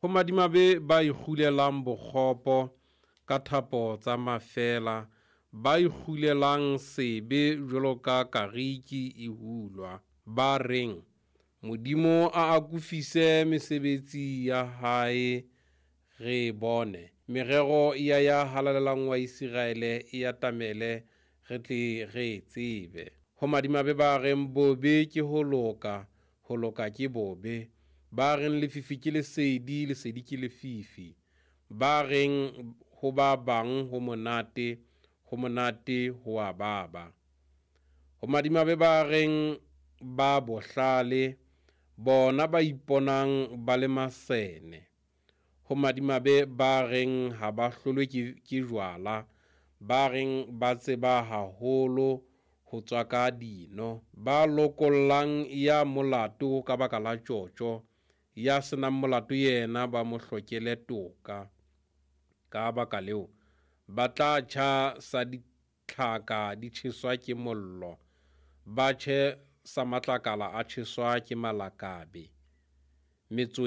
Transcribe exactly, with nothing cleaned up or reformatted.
Ho madimabe ba ikgulelang bokgopo ka thapo tsa mafeela, ba ikgulelang sebe jwalo ka kariki e hulwa, ba reng, Modimo a akofise mesebetsi ya hae, re e bone, merero ya Ya Halalelang wa Iseraele e atamele, re tle re e tsebe. Ho madimabe ba reng bobe ke ho loka, ho loka ke bobe, ba reng lefifi ke lesedi, lesedi ke lefifi, ba reng ho ba bang ho monate, ho monate ho a baba. Ho madimabe ba reng ba bohlale, bona ba iponang ba le masene. Ho madimabe ba reng ha ba hlolwe ke, ke jwala, ba reng ba tseba haholo ho tswaka dino, ba lokollang ya molato ka baka la tjotjo, ya se nang molato yena ba mo hlokele toka. Ka baka leo, ba tla tjha sa ditlhaka di tjheswa ke mollo, ba tjhe sa matlakala a tjheswa ke malakabe. Metso